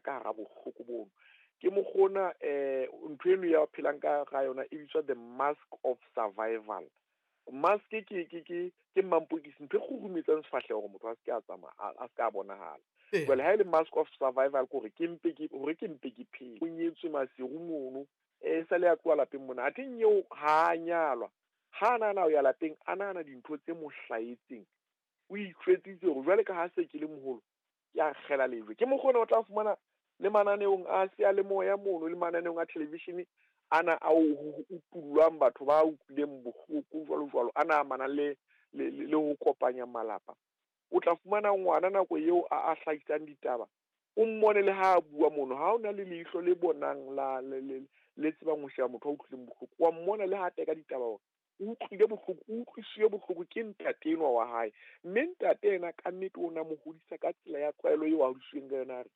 ka hara bohloko bono. Ke mokgona ntho eno ya phelang ka ga yona e bitswa the mask of survival. Mask ke mampokisi, ntho e kgurumetsang sefahleho hore motho a se ke a tsamaya, a se ke a bonahala. Jwale ha e le mask of survival ke hore ke mpe ke hore ke mpe ke phele. O nyetswe Maseru mono, sale a tloha lapeng mona. Athe eo ha a nyalwa, ha a nahana ho ya lapeng, a nahana dintho tse mo hlahetseng. O itjwetsitse hore jwale ka ha se ke le moholo, ke a kgela lejwe. Ke mokgona o tla fumana le mananeong a seyalemoya mono, le mananeong a television ana a o utullwang batho ba utlwileng bohloko jwalo jwalo, ana amanang le ho kopanya malapa. O tla fumana ngwana nako eo a hlahisang ditaba, o mmone le ha a bua mono, ha o na le leihlo le bonang la le tsebang ho sheba motho a utlwileng bohloko, wa mmona le ha teka ditaba hore o utlwile bohloko, o utlwisitswe bohloko ke ntate enwa wa hae. Mme ntate ena ka nnete o na mo hodisa ka tsela ya tlwaelo eo a hodisitsweng ka yona, a re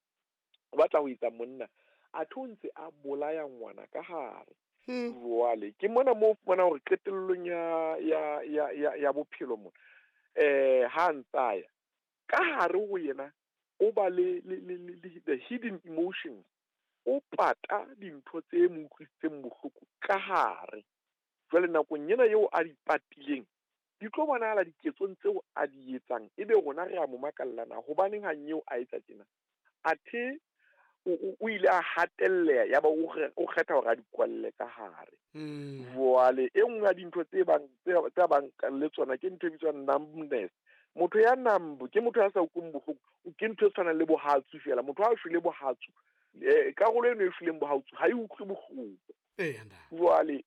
o batla ho etsa monna, athe o ntse a bolaya ngwana ka hare. Jwale ke mona moo o fumana hore qetellong ya bophelo mona, ha ntsa ya ka hare ho yena, o ba le the hidden emotions, o pata dintho tse mo utlwisitseng bohloko ka hare. Jwale nakong ena eo a di patileng, di tlo bonahala diketsong tseo a di etsang, ebe rona re a mo makalla na hobaneng ha nyeo a etsa tjena. Athe o ile a hatelleha, ya ba o kgetha hore a di kwalle ka hare. Jwale e nngwe ya dintho tse bang tse bang le tsona ke ntho e bitswang numbness. Motho ya numb ke motho ya sa utlweng bohloko, ke ntho e tshwanang le bohatsu fela. Motho ha a shwele bohatsu, karolo eno e shweleng bohatsu ha e utlwe bohloko. Jwale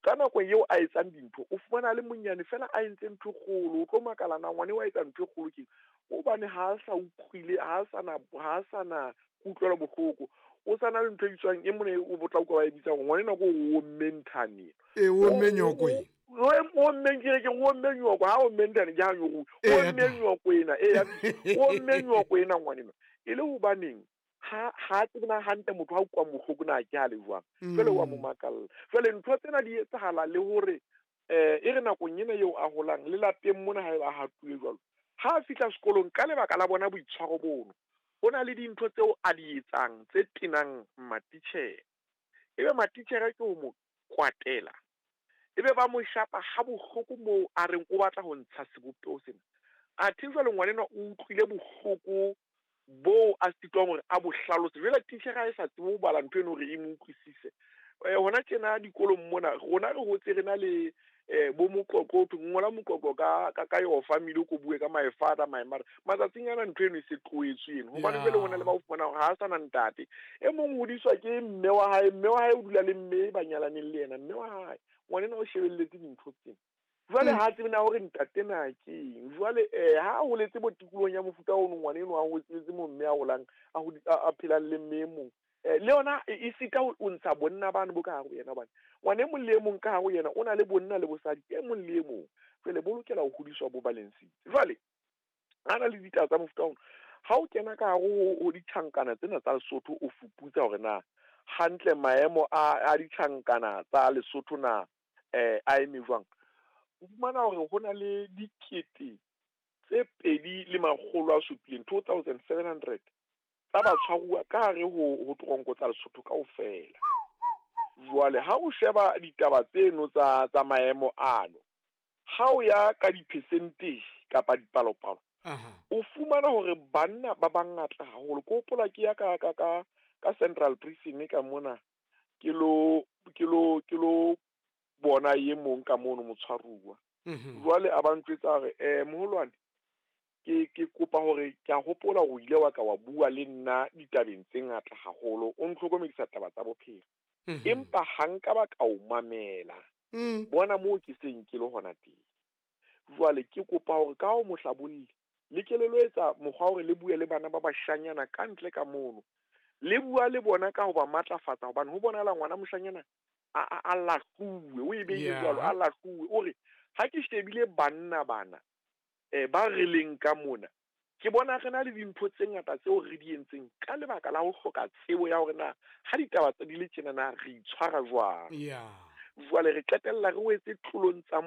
ka nako eo a etsang dintho, o fumana le monyane fela a entse ntho e kgolo, o tlo makala na ngwane wa etsa ntho e kgolo ke hobane ha a sa utlwile, ha a sana kutlwelo bohloko. O sana le ntho e bitswang e mone o botla utlwa ba e bitsang ngwane nako o omme nthane. O omme nyoko e. O omme ke o omme nyoko, ha o omme nthane ke ha nyoko. O omme nyoko ena, o omme nyoko ena ngwane ena. E le hobaneng ha tsena hantle motho ha utlwa bohloko na ke ha le jwang. Jwale wa mo makalla. Jwale ntho tsena di etsahala le hore e re nakong ena eo a holang le lapeng mona ha eba hatuwe jwalo. Ha a fihla sekolong ka lebaka la bona boitshwaro bono, ho na le dintho tseo a di etsang tse tenang matitjhere. Ebe matitjhere ke ho mo kwatela, ebe ba mo shapa ha bohloko moo a reng o batla ho ntsha sebopeho sena. Athe jwale ngwana enwa o utlwile bohloko bo a sitwang hore a bo hlalose. Jwale titjhere ha e sa tsebe ho bala ntho eno hore e mo utlwisise. Hona tjena dikolong mona rona re hotse re na le bo moqoqo, ho ngola moqoqo ka your family, o ko bue ka my father, my mother. Matsatsing ana ntho eno e se tlohetswe eno, hobane jwale hona le ba o fumana hore ha a sana ntate. E mong hodiswa ke mme wa hae, mme wa hae o dula le mme ba nyalaneng le yena, mme wa hae ngwanena o shebelletse dintho tsena. Jwale ha tsebe na hore ntate na ke eng. Jwale ha a holetse bo tikolohong ya mofuta ono, ngwana eno a holetse mo mme a holang, a phelang le mme e mong. Le yona e sita o ntsha bonna bano bo ka hare ho yena, hobane ngwana e mong le e mong ka hare ho yena o na le bonna le bosadi e mong le e mong. Jwale bo lokela ho hodiswa bo balansitse. Jwale ha na le ditaba tsa mofuta ono, ha o kena ka hare ho ditjhankana tsena tsa Lesotho, o fuputsa hore na hantle maemo a ditjhankana tsa Lesotho na a eme jwang. O fumana hore ho na le dikete tse 2,700, 2700 tsa batshwaruwa ka hare ho toronko tsa Lesotho kaofela. Jwale ha o sheba ditaba tseno tsa maemo ano, ha o ya ka di-percentage kapa dipalopalo, o fumana hore banna ba bangata haholo. Ke hopola ke ya ka Central Prison ka mona, ke lo bona e mong ka mono motshwaruwa. Jwale a ba ntjwetsa hore moholwane, ke kopa hore ke a hopola hore o ile wa ka wa bua le nna ditabeng tse ngata haholo, o ntlhokomedisa taba tsa bophelo. Empa ha nka ba ka o mamela, bona moo ke seng ke le hona teng. Jwale ke kopa hore ka ho mohlabolli le ke le lo etsa mokgwa hore le bue le bana ba bashanyana ka ntle ka mono. Le bua le bona ka ho ba matlafatsa, hobane ho bonahala ngwana moshanyana a lahluwe, o e beile jwalo, a lahluwe. O re ha ke shebile banna bana ba re leng ka mona, ke bona re na le dintho tse ngata tseo re di entseng ka lebaka la ho hloka tsebo ya hore na ha ditaba tse di le tjena na re itshwara jwang. Jwale re qetella re wetse tlolong tsa